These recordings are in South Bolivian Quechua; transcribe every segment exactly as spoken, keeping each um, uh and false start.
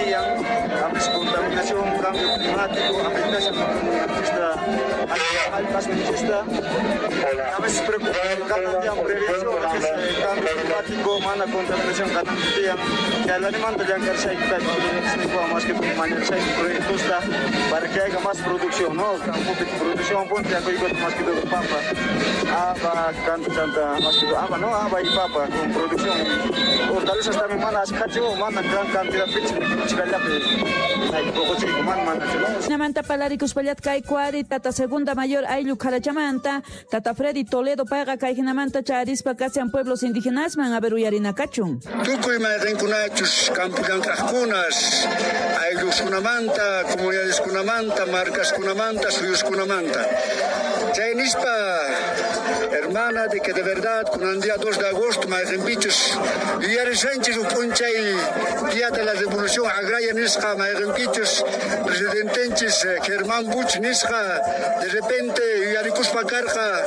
Tiyan, a veces contaminación, cambio climático, afectación jallp'asninchista, a veces preocupación tiyan prevención, a veces cambio climático, mana contaminación kanan tiyan, chaylanimanta llank'arishayku kay más que mañarishayku proyectosta para que haya más producción, ¿no? Campopi producción punto yakuykuta más que todo papa, haba, chanta, más que todo haba, ¿no? Haba y papa con producción. Hortalizas también mana ashkhachu, mana gran cantidad pichi chikallapi poqochiyku mana manachu, ¿no? Namanta palarikuspallatka kay kuari tata segunda mayor ayllu Kharachamanta, tata Freddy Toledo payqa kay hinamanta charispa kasian pueblos indígenas man a ver uyarinakachun. Tukuy mayqinkunachus campo llank'aqkunas, aylluskunamanta, comunidadeskunamanta, marcaskunamanta, suyuskunamanta. Chay nispa, hermana, de que de verdad, con el día dos de agosto, mayqinpichus yuyarishanchis uj p'unchay día de la revolución agraria nisqa, mayqinpichus presidentenchis Germán Buch nisqa, de repente yuyarikuspa karqa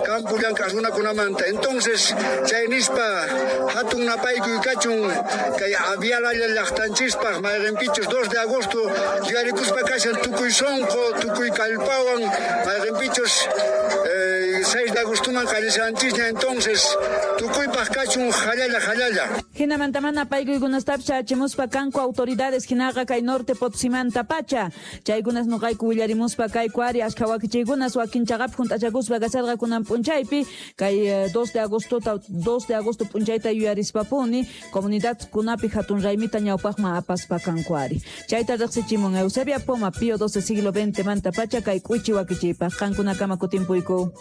campo llank'aq runakunamanta. Entonces, chay nispa, hatun napaykuy kachun kay avialalla llaqtanchispaq mayqinpichus dos de agosto yuyarikuspa kashan tukuy sonqo, tukuy kallpawan, mayqinpichus eh, seis de agostoman qallishanchisña. Entonces, tukuypaq kachun jallalla jallalla. Hinamanta mana paykuykunastapis chachimuspa kanku autoridades hinaqa kay norte Potosímanta pacha. Chaykunas nuqayku willarimuspa kay kuari ashkha wakichiykunas wakin chaqapi junt'achakuspa kasharqa kunan p'unchaypi kay dos de agosto dos de agosto p'unchayta yuyarispapuni comunidad kunapi hatun raymita ñawpaqman apaspa kanku ari. Chayta riqsichimun Eusebia Poma Pío doce siglo veinte manta pacha kay k'uichi wakichiypaq qankunakama kutimpuyku.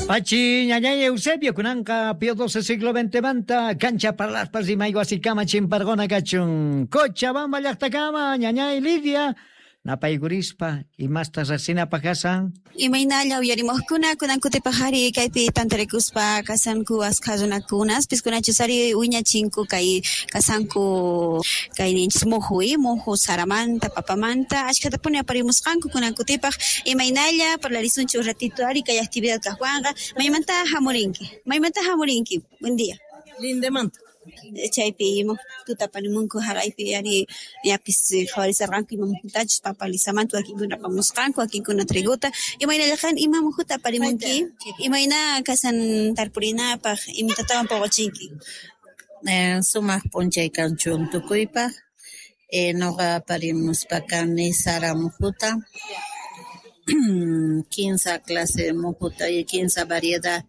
Pachi ñañay Eusebio kunanqa Pío doce siglo veinte manta cancha parlaspas rimayku asikama chimparqona kachun Cochabamba llaqtakama ñañay Lidia napaykurispa imasta riqsinapaq kasan. Imaynalla uyarimuqkuna kunan kutipaq ari kaypi tantarikuspa kasanku askha runakunas piskunachus ari wiñachinku kay kasanku kay ninchis muhu muhu saramanta papamanta ashkhatapuni aparimusqanku kunan kutipaq imaynalla parlarisunchik un ratito ari kay actividad kaqwanqa maymanta hamurinki maymanta hamurinki. Buen día. Lindemanta. Chaypi muhuta aparimunku haraypi ari yapis qhawarisarqanku ima muhutachus papa lisamanta wakinkuna apamusqanku wakinkuna triguta imaynallaqan ima muhuta aparimunki imayna kasan tarpurinapaq imatatawan puquchinki. Eh, sumaq p'unchay kanchun tukuypaq eh, nuqa aparimuspa kani sara muhuta kinsa clase muhuta y kinsa variedad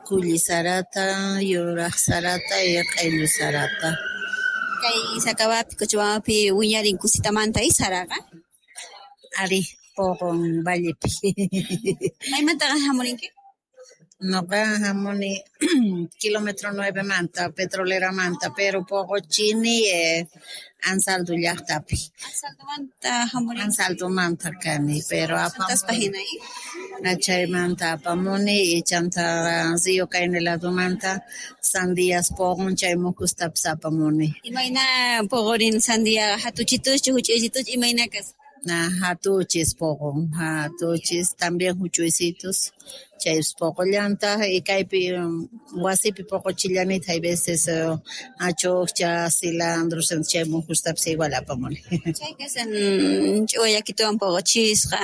kulli sarata, yuraq sarata y q'illu sarata. Kay Sakawapi, Cochabambapi wiñarin kusitamanta y saraqa? Ari, puqun vallepi. Maymantaqa hamurinki? Nuqa hamuni kilómetro nueve manta, petrolera manta, pero puquchini eh, Ansaldo llaqtapi. Ansaldomanta hamurinki? Ansaldomanta kani, pero apamuni. Chaymanta apamuni y chanta Río Caine ladomanta sandías puqun chay muhustapis apamuni. Imayna puqurin sandia hatuchituschu huch'uychituchu imayna kas? Na hatuchis puqun, hatuchis también huch'uysitus chaypis puqullantaq y kaypi wasipi puquchillanita hay veces achukcha, cilantro, chay muhustapis igual apamuni. Chay kasan ch'uwa yakituwan puquchisqa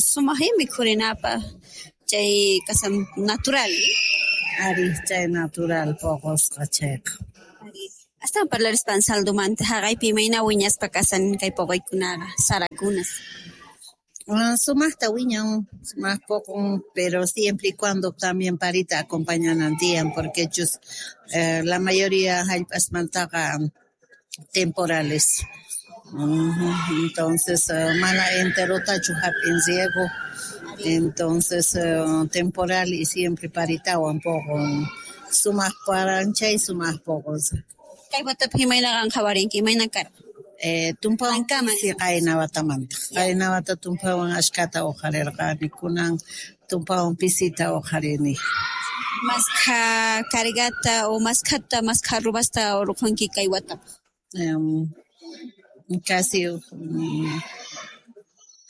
sumaqmi mikhurinapaq chay kasan natural. Ari, chay natural puqusqa chayqa. Astawan parlarispa Ansaldomanta haqaypi imayna wiñaspa kasan kay puquykunaqa sarakunas. Sumaqta wiñan, sumaq puqun, pero siempre y cuando también parita acompañanan tiyan, porque chus eh, la mayoría jallp'asmantaqa temporales. Uh-huh. Entonces, uh, mana enterotachu hap'in riego. Entonces, uh, temporal y siempre paritawan puqun. Sumaq paranchay, sumaq puqun. Kay watapi imayna qhawarinki, imayna karqa? Eh, tumpawan pisi qayna watamanta. Qayna wata tumpawan ashkata uqharirqani, kunan tumpawan pisita uqharini. Maskha cargata o maskhata, maskha rubasta urqunki kay watapaq? Um, casi um,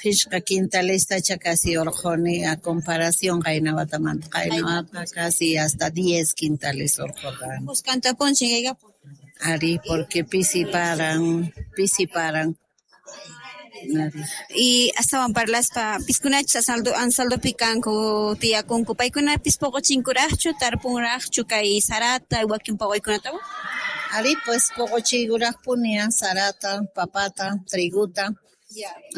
phishqa quintalestacha casi urquni a comparación qayna watamanta. Qayna wata casi hasta diez quintales urqurqani. Kuskanta punchaykaykapun. Ari, porque pisi paran, pisi paran. Y astawan parlaspa piskunachus Ansaldo Ansaldopi kanku tiyakunku paykunapis puquchinkuraqchu tarpunraqchu kay sarata wakin puquykunatawan? Ari pues puquchiykuraqpuni sarata, papata, triguta.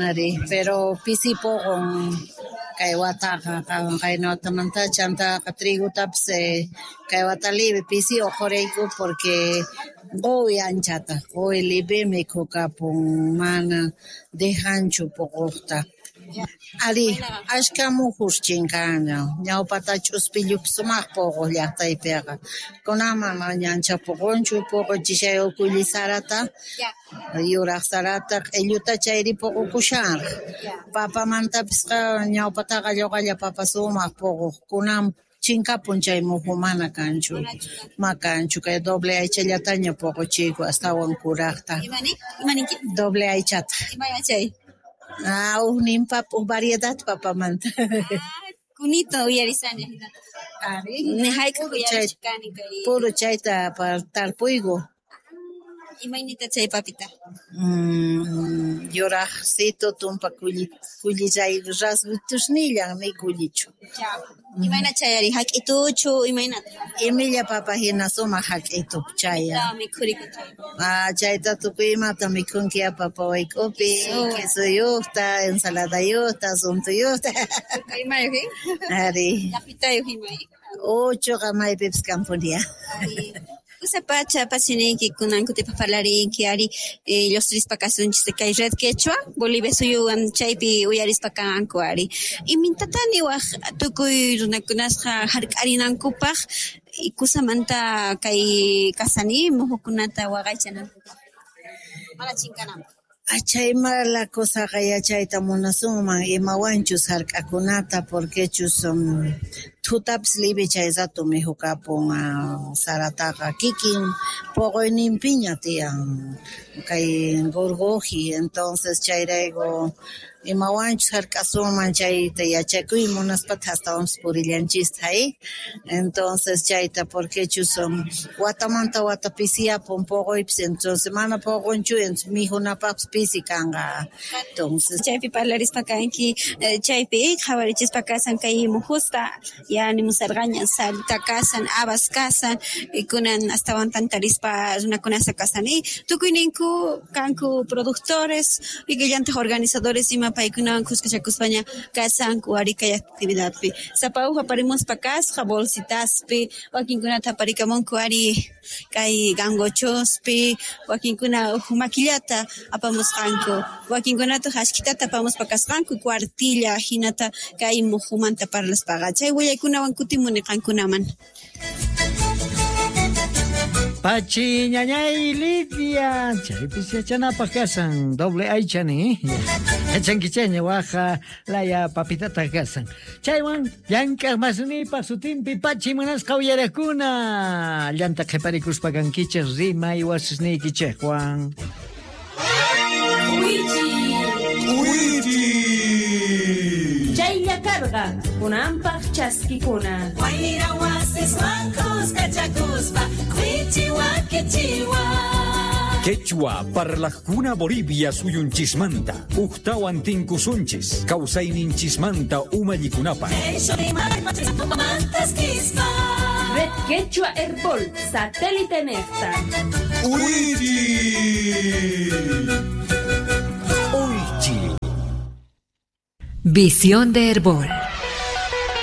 Ari, pero pisi puqun kay wataqa qayna watamanta chantaqa trigutapis kay wata libre pisi uqhuriyku porque quwi anchata, quwi libre mikhukapun mana dejanchu puquqta. Ari, ashka mujus chinkanña, ñawpata ch'uspillupis sumaq puquq llaqtaypiqa. Kunan mana ancha puqunchu, puquchishay kulli sarata, yuraq sarata, q'illuta chayri puqukushanraq. Papamantapisqa ñawpataqa lluqalla papa sumaq puquq, kunan chinkapun chay muju mana kanchu, ma kanchu, kay doble aychallataña puquchiyku astawan kuraqta. Imaninki? Doble aychata. Imay chay? Ah, ujnin papa, uj variedad papamanta. Kunito uyarisani. Ari, Ni hayk'aq puro chay, uyarichkani kay puro chayta tarpuyku. Imaynita chay papita? Mm, yuraqsito tumpa kulli kullillay rasgutusnillan ni kullichu. Imayna chayari hak'ituchu imaynata? Imilla papa hina sumaq hak'itu chaya. Mikhuriku chay. Ah, chayta tukuy imata mikhunki papa wayk'upi, quesuyuqta, ensaladayuqta, suntuyuqta. Imayuq, Ari. Llapitayuq imay. Uchuqa maypipis kanpunia. Kusapacha pachiniyki kunan kutipaq parlarinki ari lluqsirispa kasunchis kay Red Quechua Bolivia suyuwan chaypi uyarispa kanku ari. Imintatá niwaq tukuy runakunasqa hark'arinankupaq kusamanta kay kasani muhukunata waqaychanankupaq mana chinkananpaq. Chay mala kusaqa yachayta munasunman imawanchus hark'akunata porquechus um, thutapis libre chay rato mikhukapun sarataqa kikin puquyninpiña tiyan kay gorgoji, entonces chayrayku imawanchus hark'asunman chayta yachakuy munaspataq astawanpis purillanchista ay entonces chayta porquechus um, watamanta wata pisiyapun puquypis entonces mana puqunchu entonces mikhunapaqpis pisi kanqa entonces chaypi parlarispa kanki chaypi qhawarichispa kasan kay mujusta ya nimusarqaña sarita kasan habas kasan kunan astawan tantarispa runakunasqa kasani tukuyninku kanku productores ikillantaq organizadores ima paykunawan khuskachakuspaña kasanku ari kay actividadpi sapa uj aparimuspa kasqa bolsitaspi wakinkunata aparikamunku ari kay gangochospi wakinkuna uj makillata apamusqanku wakinkunataq ashkitata apamuspa kasqanku cuartilla hinata kay mujumanta parlaspaqa chay willaykunawan kutimuni qankunaman. Pachi ñañay Lidia, chaypis yachanapaq kasan, doble aychani, yachankichayña waja laya papitata kasan. Chaywan llank'aq masnipaq sutinpi pachi munasqa uyarakuna, llanta qhiparikuspa kankichej rimay wasisniykichejwan. Chaylla karqa kunanpaq chaskikuna. Wayra wasiswan kuskachakuspa k'uichiwa kichiwa. Quechua parlajkuna Bolivia suyunchismanta ujtawan tinkusunchis kawsayninchismanta umallikunapaq. Red Quechua Herbol satélite nefta. Visión de Herbol.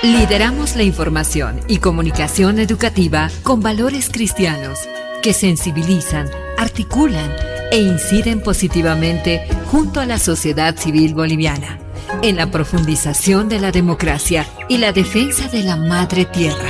Lideramos la información y comunicación educativa con valores cristianos que sensibilizan, articulan e inciden positivamente junto a la sociedad civil boliviana en la profundización de la democracia y la defensa de la madre tierra.